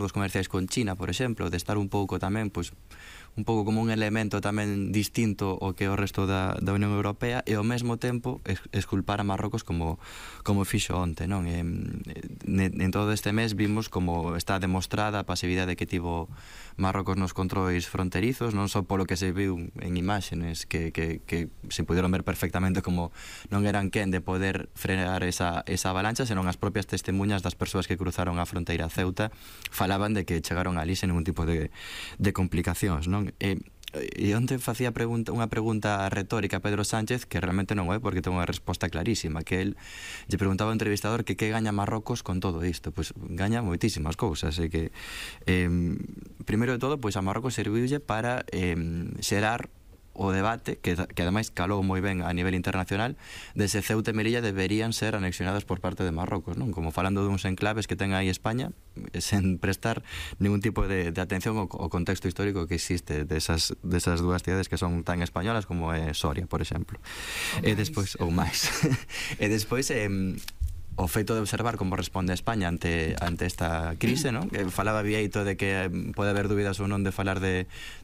acordos comerciais con China, por exemplo, de estar un pouco tamén, pois, un pouco como un elemento tamén distinto ao que o resto da Unión Europea, e ao mesmo tempo exculpar a Marrocos como fixo onte, non? En todo este mes vimos como está demostrada a pasividade que tivo Marrocos nos controis fronterizos, non só polo que se viu en imágenes que se puderon ver perfectamente como non eran quen de poder frenar esa avalancha, senón as propias testemunhas das persoas que cruzaron a fronteira a Ceuta falaban de que chegaron ali sen ningún tipo de complicacións, non? E onte facía unha pregunta retórica a Pedro Sánchez que realmente non é, porque ten unha resposta clarísima, que el lle preguntaba ao entrevistador que gaña Marrocos con todo isto. Pois gaña moitísimas cousas, e que primeiro de todo, pois a Marrocos serviulle para xerar o debate, que ademais calou moi ben a nivel internacional, de se Ceuta e Melilla deberían ser anexionadas por parte de Marrocos, non? Como falando duns enclaves que ten aí España, sen prestar ningún tipo de atención ao contexto histórico que existe desas dúas cidades que son tan españolas como é Soria, por exemplo. E despois, ou máis. E despois, o feito de observar como responde a España ante esta crise, non? Falaba Bieito de que pode haber dúbidas ou non de falar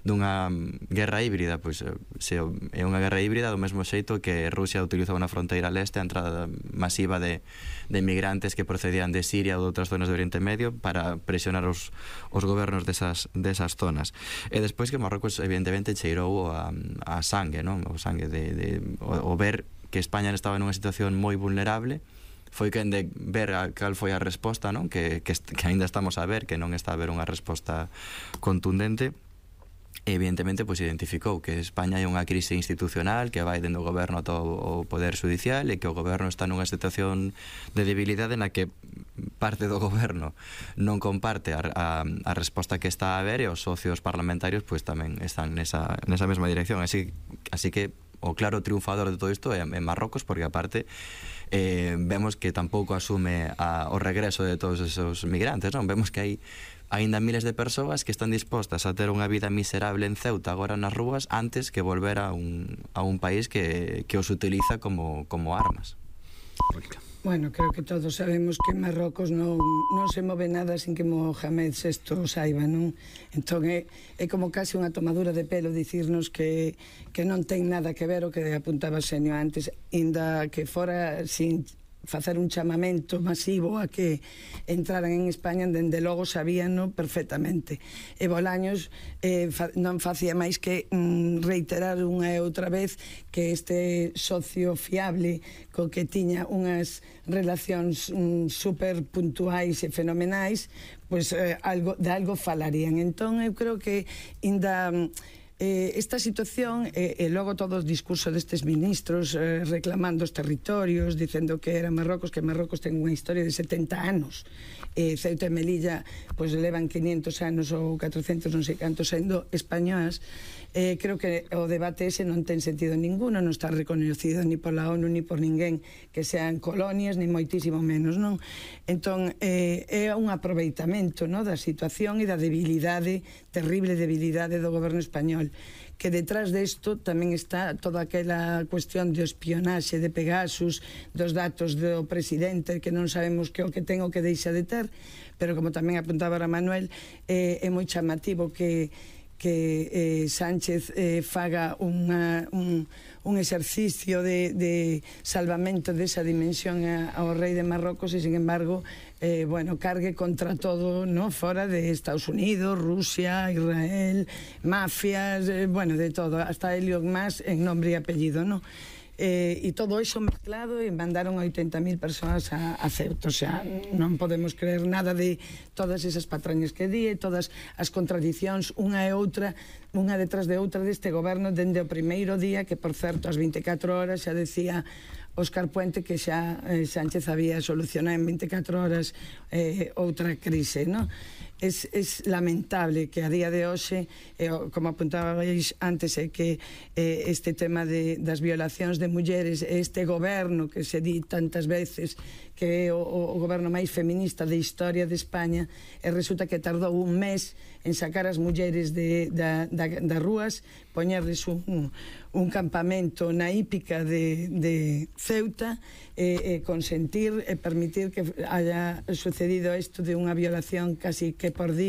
dunha guerra híbrida. Pois se é unha guerra híbrida do mesmo xeito que Rusia utilizou na fronteira leste a entrada masiva de inmigrantes que procedían de Siria ou de outras zonas do Oriente Medio para presionar os gobernos desas zonas. E despois que Marrocos evidentemente cheirou a sangue, non? O sangue o ver que España estaba nunha situación moi vulnerable, foi quen de ver cal foi a resposta, non? Que ainda estamos a ver que non está a haber unha resposta contundente. E evidentemente pois identificou que España é unha crise institucional que vai dende o goberno ata o poder judicial, e que o goberno está nunha situación de debilidade na que parte do goberno non comparte a resposta que está a haber, e os socios parlamentarios pois tamén están nesa mesma dirección. Así que o claro triunfador de todo isto é Marrocos, porque aparte vemos que tampouco asume o regreso de todos esos migrantes, non? Vemos que hai aínda miles de persoas que están dispostas a ter unha vida miserable en Ceuta agora nas rúas antes que volver a un país que os utiliza como armas. Bueno, creo que todos sabemos que Marrocos non se move nada sin que Mohamed VI saiba, non? Entón é como case unha tomadura de pelo dicirnos que non ten nada que ver o que apuntaba Xenio antes, inda que fora sin facer un chamamento masivo a que entraran en España, dende logo sabíano perfectamente. E Bolaños non facía máis que reiterar unha e outra vez que este socio fiable co que tiña unhas relacións super puntuais e fenomenais, pois de algo falarían. Entón eu creo que inda esta situación e logo todo o discurso destes ministros reclamando os territorios, dicendo que era Marrocos, que Marrocos ten unha historia de 70 anos, Ceuta e Melilla pois levan 500 anos ou 400 non sei cantos sendo españolas. Creo que o debate ese non ten sentido ninguno, non está reconocido ni pola ONU ni por ninguén que sean colonias, ni moitísimo menos, non? Entón é un aproveitamento, non, da situación e da debilidade, terrible debilidade do goberno español, que detrás desto tamén está toda aquela cuestión de espionaxe de Pegasus, dos datos do presidente que non sabemos que o que ten o que deixa de ter, pero como tamén apuntaba ahora Manuel, é moi chamativo que Sánchez faga un exercicio de salvamento desa dimensión ao rei de Marrocos e, sin embargo, cargue contra todo, fora de Estados Unidos, Rusia, Israel, mafias, de todo, hasta Elon Musk en nombre e apellido, non? E todo iso mezclado, e mandaron 80.000 persoas a Ceuta. O sea, non podemos creer nada de todas esas patrañas que di e todas as contradicións unha e outra, unha detrás de outra deste goberno dende o primeiro día, que por certo ás 24 horas xa decía Óscar Puente que xa Sánchez había solucionado en 24 horas outra crise, non? Es lamentable que a día de hoxe, como apuntabais antes, que este tema das violacións de mulleres, este goberno que se di tantas veces que é o goberno máis feminista da historia de España, e resulta que tardou un mes en sacar as mulleres das rúas, poñerles un campamento na hípica de Ceuta, consentir e permitir que haya sucedido isto de unha violación casi que por día